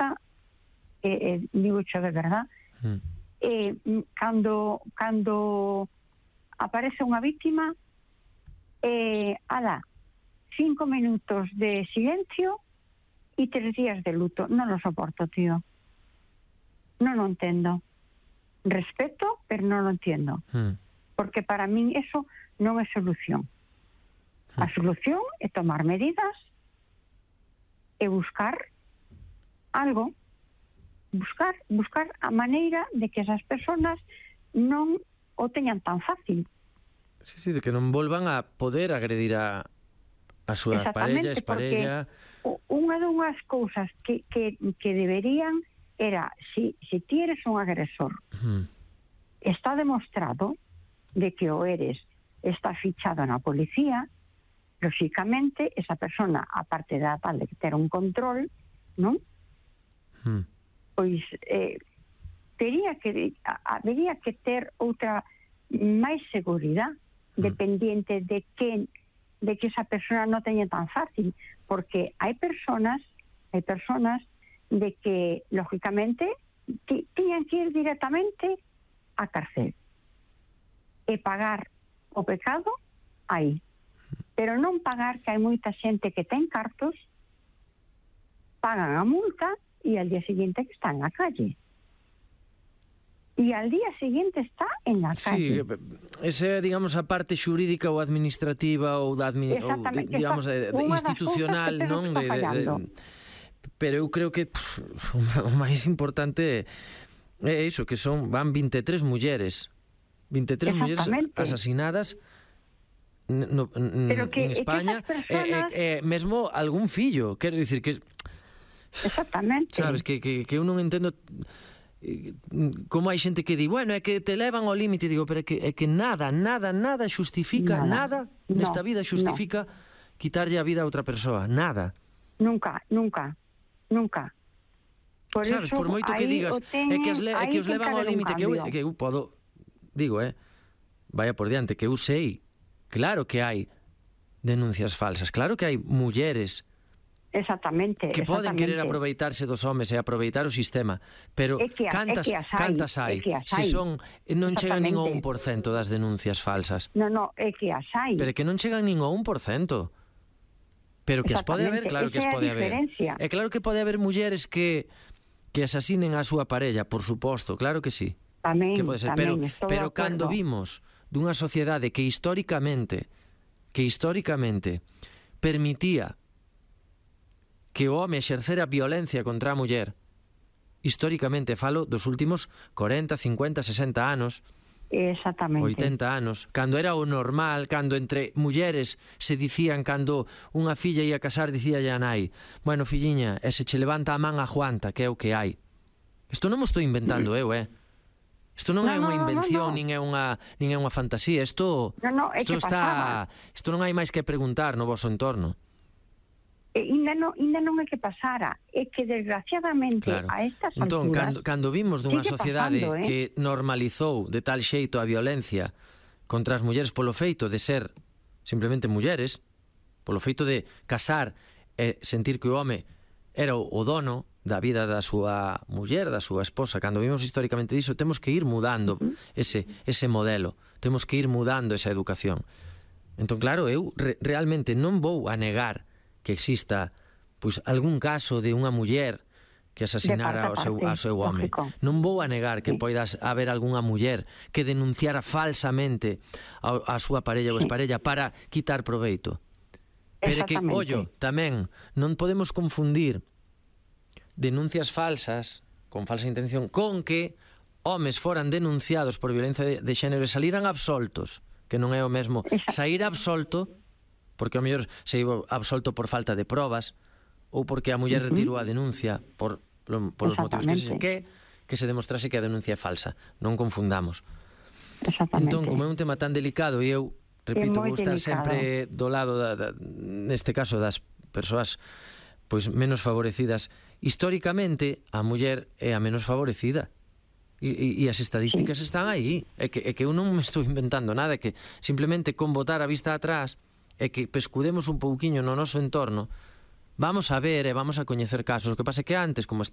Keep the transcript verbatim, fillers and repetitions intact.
gusta, eh, eh, digo cho de verdad, mm. eh, cando, cando aparece unha víctima, eh, ala, cinco minutos de silencio e tres días de luto. Non lo soporto, tío. Non lo entendo. Respeto, pero non lo entiendo. Mm. Porque para min eso non é solución. Mm. A solución é tomar medidas e buscar algo, buscar buscar a maneira de que esas personas non o teñan tan fácil. Sí, sí, de que non volvan a poder agredir a a súa parella, exparella. Unha dunhas cousas que, que, que deberían era, si, si ti eres un agresor, uh-huh. está demostrado de que o eres, está fichado na policía, lógicamente, esa persona, aparte da tal de ter un control, non? Uh-huh. Pois, eh, teria que, habería que ter outra máis seguridade, uh-huh. dependiente de que, de que esa persona non teña tan fácil, porque hai personas, hai personas de que, lógicamente, tiñan que ir directamente á cárcel e pagar o pecado aí. Pero non pagar, que hai moita xente que ten cartos, pagan a multa e al día seguinte que está en la calle. E al día seguinte está en la calle. Sí, esa é, digamos, a parte xurídica ou administrativa ou da admi- ou, digamos, de, de institucional, non? De, de, de, pero eu creo que pff, o máis importante é iso, que son van vinte e tres mulleres vinte e tres mulleres asasinadas no, no, que, en España personas... e, e, e mesmo algún fillo, quero dicir que exactamente, sabes, que, que, que eu non entendo como hai xente que di, bueno, é que te levan ao límite, digo, pero é que, é que nada, nada, nada xustifica, nada, nada nesta no, vida xustifica no. quitarlle a vida a outra persoa, nada. Nunca, nunca. Nunca. Por sabes, eso, por moito que digas ten, é que, as le, é que os levan ao límite, que eu, que eu podo, digo, eh, vaya por diante, que eu sei, claro que hai denuncias falsas, claro que hai mulleres exactamente que poden exactamente. querer aproveitarse dos homes e aproveitar o sistema, pero é que, cantas, é que cantas hai, é se son, non chegan nin ao un por cento das denuncias falsas. No, no, é que as hai. Pero que non chegan nin ao un por cento. Pero que as pode haber, claro que as pode haber. É claro que pode haber mulleres que que asasinen a súa parella, por suposto, claro que sí. Tamén, que pode ser, tamén, pero pero cando vimos dunha sociedade que históricamente que históricamente permitía que o home exercera violencia contra a muller, históricamente falo dos últimos corenta, cincuenta, sesenta anos, exactamente, oitenta anos, cando era o normal, cando entre mulleres se dicían, cando unha filla ia casar, dicía a nai, bueno, filliña, e se che levanta a man aguanta, que é o que hai. Isto non mo estou inventando eu, eh? Isto non no, é unha invención, no, no. nin é unha nin é unha fantasía, isto no, no, isto está, isto non hai máis que preguntar no voso entorno. E ainda non, ainda non é que pasara, é que desgraciadamente claro. A estas entón, alturas cando, cando vimos dunha sociedade pasando, eh? que normalizou de tal xeito a violencia contra as mulleres polo feito de ser simplemente mulleres, polo feito de casar e sentir que o home era o, o dono da vida da súa muller, da súa esposa, cando vimos históricamente diso, temos que ir mudando uh-huh. ese, ese modelo, temos que ir mudando esa educación. Entón, claro, eu re, realmente non vou a negar que exista pois algún caso de unha muller que asasinara ao seu, ao seu home. Non vou a negar que sí. poidas haber algunha muller que denunciara falsamente a, a súa parella ou exparella para quitar proveito. Pero que, ollo, tamén non podemos confundir denuncias falsas con falsa intención con que homes foran denunciados por violencia de, de xénero e saliran absoltos, que non é o mesmo sair absolto porque ao mellor se iba absolto por falta de probas ou porque a muller uh-huh. retirou a denuncia por, por, por os motivos que se, que, que se demostrase que a denuncia é falsa. Non confundamos. Entón, como é un tema tan delicado e eu, repito, vou estar delicado. sempre do lado da, da, neste caso das persoas pois menos favorecidas, históricamente a muller é a menos favorecida. E, e, e as estadísticas sí. están aí. É que, é que eu non me estou inventando nada, é que simplemente con botar a vista atrás e que pescudemos un pouquiño no noso entorno, vamos a ver e vamos a coñecer casos. O que pasa é que antes, como, está,